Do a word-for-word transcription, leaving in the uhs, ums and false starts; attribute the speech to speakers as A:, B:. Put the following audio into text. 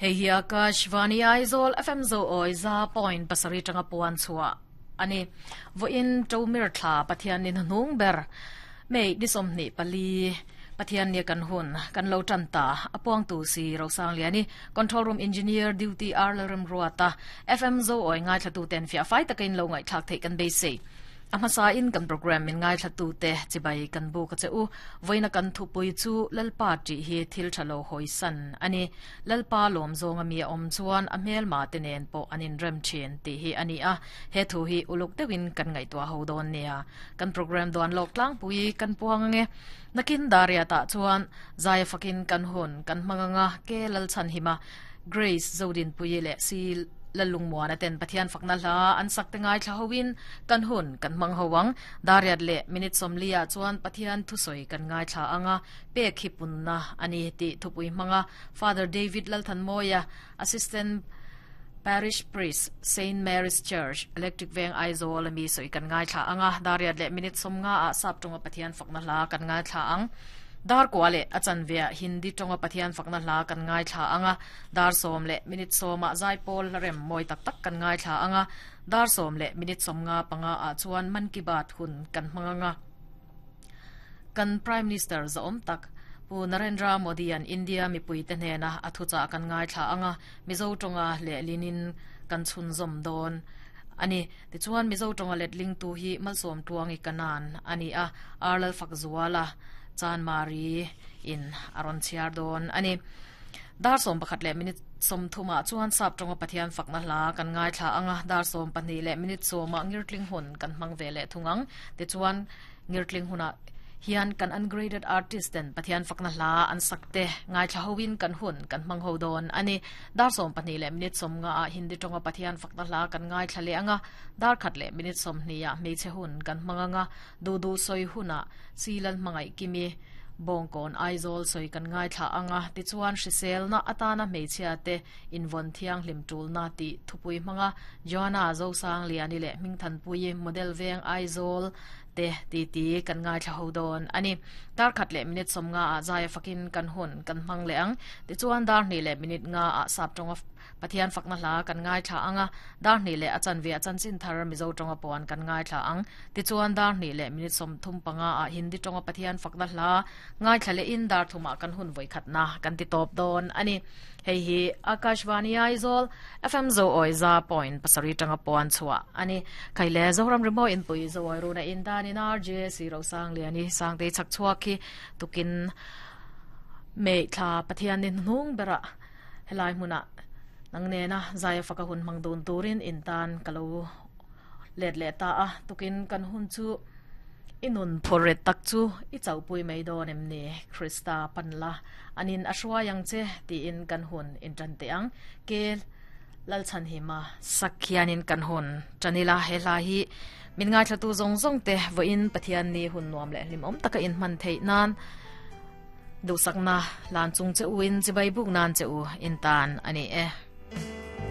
A: Hei hi Akashvani Aizawl F M zo oi za point pasari tanga puan chua ani voin tomir thla Pathian ni hnung ber mei nisom ni pali Pathian ni kan hun kan lo tan ta apuang tu si Rosang liani control room engineer duty R Lalrem Ruata F M zo oi ngai thla tu ten fia fai takin lo ngai thak thei kan be sei amasa in kan program min ngai thla tu te chibai kan bu ka cheu voina kan thu pui chu lalpa ti hi thil thalo hoisan ani lalpa lom zonga mi om chuan a hmel ma te nen po anin rem thin ti hi ani a he thu hi uluk tewin kan ngai tua ho don nia kan program don lok tlang pui kan puang nge nakin daria ta chuan zai fakin kan hun kan manganga ke lal chan hima Grace Zodin pui le si lalung muana ten Pathian fakna hla an sak te ngai thla hoin kan hun kan mang howang dariat le minute somlia chuan Pathian thu soi kan ngai thla anga pe khipunna ani ti thupui manga Father David Lalthan Moya Assistant Parish Priest Saint Mary's Church Electric Veng Aizawl ami soi kan ngai thla anga dariat le minute somnga a sap tonga Pathian fakna hla kan ngai thla ang dar kwale achan via Hindi tonga Pathian fakna hla kan ngai thla anga dar som le minute soma zai pol rem moi tak tak kan ngai thla anga dar som le minute som nga panga a chuan man ki baat hun kan manganga kan Prime Minister zom tak Pu Narendra Modi an India mi puite hne na athucha kan ngai thla anga Mizo tonga le linin kan chun zom don ani ti chuan Mizo tonga let ling tu hi malsom tuangi kanan ani a arlal fakzuala Chan Mari in aron chiar don ani dar som pakhat le minute som thuma chuan sap tonga Pathian fakna hla kan ngai thla anga dar som pahnih le minute soma ngirtling hun kan hmang ve le thungang ti chuan ngirtling huna hian kan ungraded artist ten Pathian fakna hla an sakte ngai thla hoin kan hun kan hmang ho don ani dar som pahnih le minute som nga a Hindi tonga Pathian fakna hla kan ngai thla le anga dar khat le minute som hnia meiche hun kan hmanganga du du soi huna silan mangai kimi bongkon Aizawl soi kan ngai thla anga ti chuan hrisel na atana meichia te invon thiang hlim tul na ti thupui hmanga Joanna Zosang liani le mingthan pui model veng Aizawl te ti ti kan ngai thla ho don ani dar khat le minute som nga a zai fakin kan hun kan hmang le ang ti chuan dar ni le minute nga a sap tonga Pathian fakna hla kan ngai thla anga dar ni le achan ve achan chin thar Mizo tonga pon kan ngai thla ang ti chuan dar ni le minute som thum panga a Hindi tonga Pathian fakna hla ngai thla le in dar thuma kan hun voi khat na kan ti top don ani hei hi Akashvani Aizawl F M zo oi za point pasari tanga pon chua ani khaile Zoram remo in pui zo oi runa in dan in R J C Rosang liani sangte chak chua khi tukin me thla Pathian ni nung bera helai hmuna nangne na zaya faka hun mang don turin in tan kalo let le ta a tukin kan hun chu inun phoret tak chu i chaupui mai don em ni Krista panla anin ashwa yang che ti in kan hun in tan te ang ke lalchan hima sakhianin kan hun chanila hela hi min ngai thlatu zong zong te vo in Pathian ni hun nuam le limom taka in man thei nan du sakna lan chung che uin chibai buk nan che u in tan ani e.